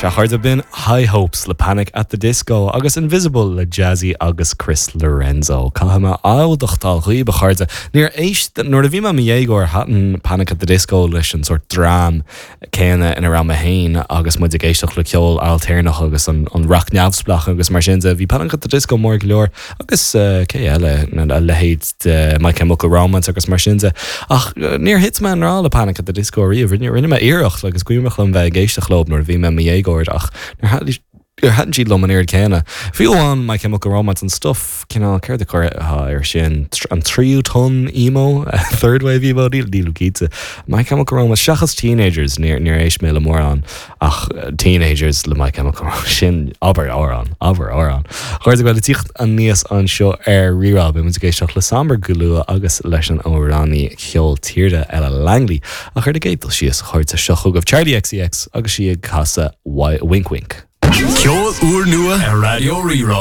Sea, a chairde, b'in High Hopes le Panic at the Disco agus Invisible le Jazzy agus Chris Lorenzo. Caithfidh mé admháil dhaoibh, a chairde, níor éist, nuair a bhí mé i mo dhéagóir, thaitin Panic at the Disco leis an sórt dream céanna ina raibh mé féin agus muid ag éisteacht le ceol ailtéarnach agus an rac neamhspleách agus mar sin de. Bhí Panic at the Disco mór go leor agus cé eile, a leithéid de My Chemical Romance agus mar sin de. Ach níor thit mé i ngrá le Panic at the Disco ariamh. Rinne mé iarracht agus is cuimhneach liom bheith ag éisteacht leo nuair a bhí mé i mo dhéagóir ach níor thaitin siad liom an oiread céanna. Fiú amháin My Chemical Romance, an stuff cineál, céard a chuirfeá air sin, an tríú tonn emo, third wave emo, nílim cinnte. My Chemical Romance, seachas Teenagers, níor éist mé le mórán. Ach Teenagers le My Chemical Romance, sin, abair amhrán, abair amhrán. A chairde, bhuel, ag tíocht aníos anseo ar Rí-Rá, beidh muid ag éisteacht le Sombre go luath agus leis an amhránaí ceol tíre Ella Langley. Ach ar an gcéad dul síos, a chairde, seo chugaibh Charli XCX agus í ag casadh Wink Wink. Ceol úrnua ar Raidió Rí-Rá.